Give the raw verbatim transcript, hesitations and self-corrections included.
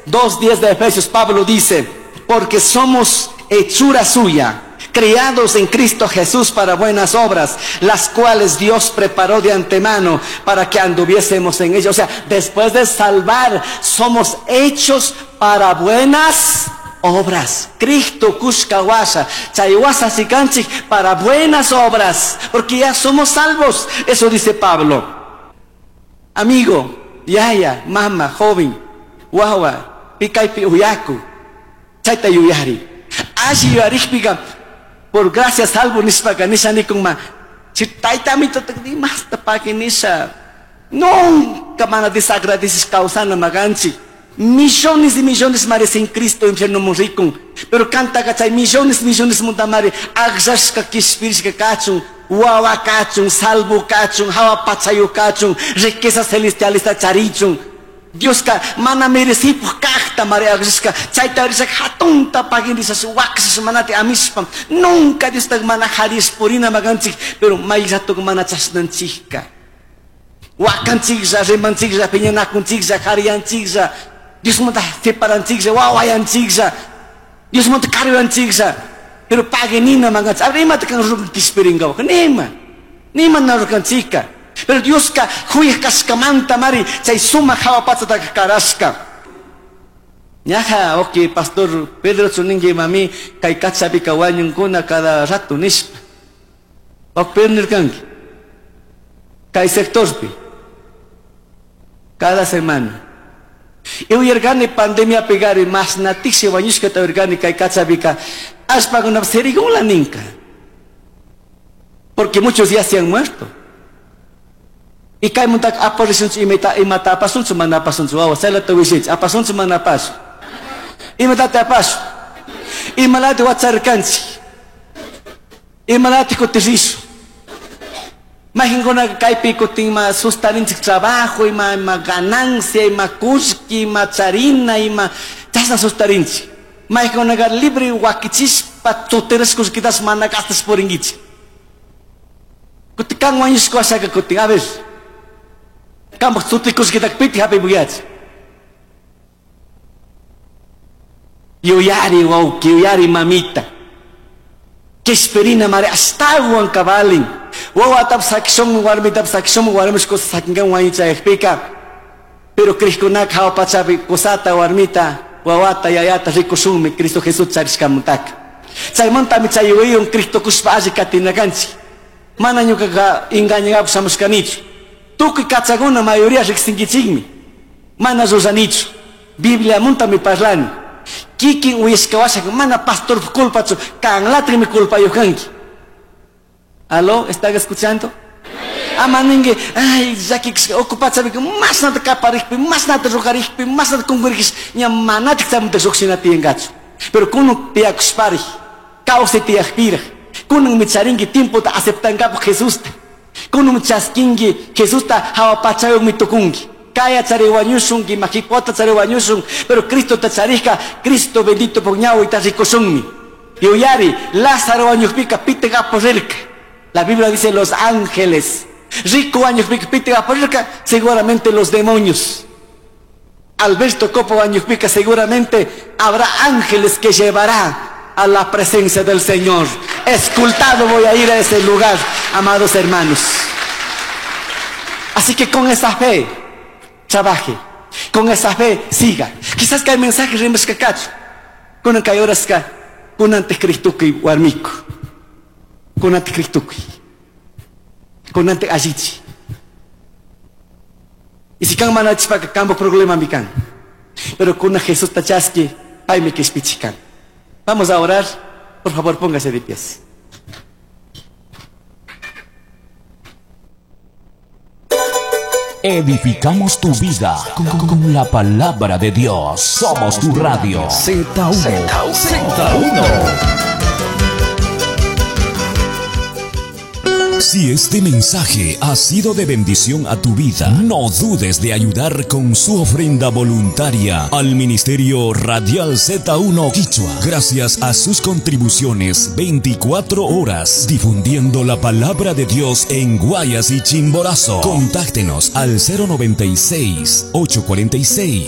dos diez de Efesios, Pablo dice, porque somos hechura suya, creados en Cristo Jesús para buenas obras, las cuales Dios preparó de antemano para que anduviésemos en ellas. O sea, después de salvar, somos hechos para buenas obras. Cristo kushka washa, chay washa sikanchik para buenas obras, porque ya somos salvos. Eso dice Pablo. Amigo, yaya, mama, joven, wawa, pikaypi uyaku, chayta yuyari. Alli yuyarikpiqa, por gracia salvo nishpaka nisha nikunma, si taytamito imasta paqui nisha, nunca mana desagradecis kawsana maganchik. Millones y millones mare sin Cristo infierno murikun, pero canta chay millones millones muntamare agllasqa kishpirishka kachun, wawa kachun, salvo kachun, hawa pachayu kachun, riquezas celestiales charichun. Dioska mana merecipuj kajta mare agllasqa chayta rishaka hatunta pagin rishas waqshas manati amishpa, nunca Diosta mana jarispurina maganchik, pero may rato mana chashnanchikka. Wakanchiklla, rimanchiklla, piñanakunchiklla, jariyanchiklla, Diosmanta separanchiklla, wawayanchiklla, Diosmanta karuyanchiklla, pero paguenina maganchik. A ver, imata kan rukan kishpirinkapak, nima, nima na rukanchikka. Pero Dioska huyaj kashkamanta mari chay sumaq hawa pachataqa karashka. Ñaja, ok, pastor Pedro chuninki mami kay kachapika wañunkuna cada rato nishpa. Ok, Pedro nirkanki kay sectorpi cada semana. Y uyarkani pandemia pegari mas natiksi wañushkata uyarkani kay kachapika ashpakuna serigunla ninka. Porque muchos ya se han muerto. Y kay muntak aparisunchu imata imata apasunchu mana apasunchu wawa chaylata willaychik apasunchu mana apasu imatata apasu imalati wacharkanchik imalati kutirrisu mayqinkunaka kaypi kutin ima sustarinchik trabajo ima ima ganancia ima kullki ima charina ima chashna sustarinchik mayqinkunaka libre wakichispa tutirashkullkitas mana gastas purinkichik kutin kan wañushka washaka kutin a ver Kampak sutikushkitaka piti hapipuyachik. Yuyari wawki, yuyari mamita. Kishpirina mari ashtawan kabalin. Wawatap sakishun, warmitap sakishun, warmishku sakinkan wañuchayakpika. Pero krishkunaka hawa pachapi kusata warmita, wawata yayata rikushunmi Cristo Jesús charishkamantaka. Chaymantami chay yuyaywan Cristo kushpa alli katinakanchik. Mana ñukaqa engañankapaq shamushkanichu. Tukuy kachakuna mayoría riqsinkichikmi. Mana ruranichu. Bibliamantami parlani. Kikin uyashka washaka mana pastor culpachu, kanlatrimi culpayuq kanki. Aló, ¿están escuchando? Ama ninki, ay, llakikushka ocupachapika mashnata kaparikpi, mashnata rukarikpi, mashnata kunkurikpish, ña manatik chaymanta lluqshina tiyankachu. Pero kunan tiyakushparik, kawsay tiyakpiraj, kunanmi charinki tiempota aceptankapaq Jesusta. Kunun chaskinki Jesusta hawa pachayuqmi tukunki. Kaya chari wañushunki, majipota chari wañushun, pero Cristo ta charishka, Cristo bendito puñawita rikushunmi. Yuyari, Lázaro wañuqpika pitaq apurirka. La Biblia dice los ángeles. Rico wañuqpika pitaq apurirka, seguramente los demonios. Alberto Copo wañuqpika seguramente habrá ángeles que llevará a la presencia del Señor. Escultado voy a ir a ese lugar, amados hermanos. Así que con esa fe, trabaje. Con esa fe, siga. Quizás que hay mensajes rimashkakachu. Kunan kay horaska, kun anticristukuy warmiku. Kun anticristukuy. Kun ante allichi. Y si kan manachpaka kambo problema mikan. Pero kun Jesús tachaski, paymi kishpichikan. Vamos a orar. Por favor, póngase de pies. Edificamos tu vida con, con, con la palabra de Dios. Somos tu radio. Z uno. Z uno. Si este mensaje ha sido de bendición a tu vida, no dudes de ayudar con su ofrenda voluntaria al Ministerio Radial Z uno Quichua. Gracias a sus contribuciones, veinticuatro horas difundiendo la palabra de Dios en Guayas y Chimborazo. Contáctenos al cero noventa y seis, ocho cuarenta y seis,